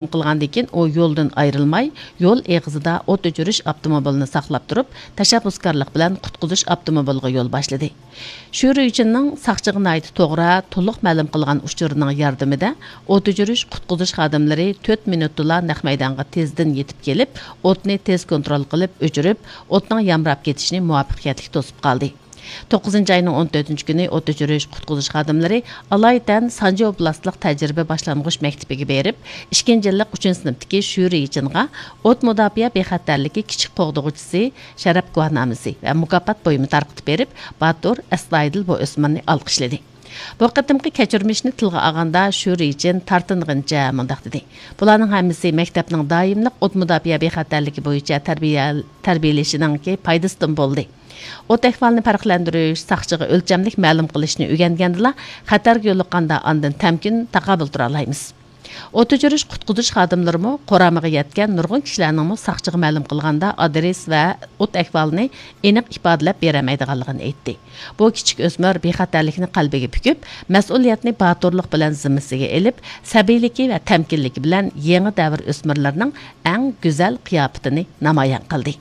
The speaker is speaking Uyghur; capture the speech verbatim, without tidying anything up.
قىلغاندىن كېيىن، ئۇ يولدىن ئايرىلماي، يول ئېغىزىدا ئوت ئۆچۈرۈش ئاپتوموبىلىنى ساقلاپ تۇرۇپ، تەشەببۇسكارلىق بىلەن قۇتقۇزۇش ئاپتوموبىلىغا يول باشلىدى. شۈرى يىچىننىڭ ساقچىغا ناھايىتى توغرا، تولۇق مەلۇم قىلغان ئۇچۇرىنىڭ ياردىمىدە ئوت ئۆچۈرۈش، قۇتقۇزۇش خادىملىرى تۆت مىنۇتتىلا نەق مەيدانغا تېزدىن يېتىپ كېلىپ، ئوتنى تېز كونترول قىلىپ ئۆچۈرۈپ، ئوتنىڭ يامراپ كېتىشىنى مۇۋەپپەقىيەتلىك توسۇپ قالدى. توققۇزىنچى ئاينىڭ ئون تۆتىنچى كۈنى ئوت ئۆچۈرۈش، قۇتقۇزۇش خادىملىرى ئالايىتەن سانجى ئوبلاستلىق تەجرىبە باشلانغۇچ مەكتىپىگە بېرىپ، ئىككىنچى يىللىق ئۈچىنچى سىنىپتىكى شۈرى يىچىنغا ئوت مۇداپىئە بىخەتەرلىكى كىچىك قوغدىغۇچىسى شەرەپ گۇۋاھنامىسى ۋە مۇكاپات بۇيۇمى تارقىتىپ بېرىپ، باتۇر، ئەستايىدىل بۇ ئۆسمۈرنى ئالقىشلىدى. بۇ قېتىمقى كەچۈرمىشنى تىلغا ئالغاندا، شۈرى يىچىن تارتىنغىنىچە مۇنداق دېدى: «بۇلارنىڭ ھەممىسى مەكتەپنىڭ دائىملىق ئوت مۇداپىئە بىخەتەرلىكى بويىچە تەربىيە، تەربىيەلىشىنىڭكى پايدىسىدىن بولدى.» ئوت ئەھۋالىنى پەرقلەندۈرۈش، ساقچىغا ئۆلچەملىك مەلۇم قىلىشنى ئۆگەنگەندىلا، خەتەرگە يولۇققاندا ئاندىن تەمكىن، تاقابىل تۇرالايمىز. ئوت ئۆچۈرۈش، قۇتقۇزۇش خادىملىرىمۇ قورامىغا يەتكەن نۇرغۇن كىشىلەرنىڭمۇ ساقچىغا مەلۇم قىلغاندا ئادرېس ۋە ئوت ئەھۋالىنى ئېنىق ئىپادىلەپ بېرەلمەيدىغانلىقىنى ئېيتتى. بۇ كىچىك ئۆسمۈر بىخەتەرلىكنى قەلبىگە پۈكۈپ، مەسئۇلىيەتنى باتۇرلۇق بىلەن زىممىسىگە ئېلىپ، سەبىيلىكى ۋە تەمكىنلىكى بىلەن يېڭى دەۋر ئۆسمۈرلىرىنىڭ ئەڭ گۈزەل قىياپىتىنى نامايان قىلدى.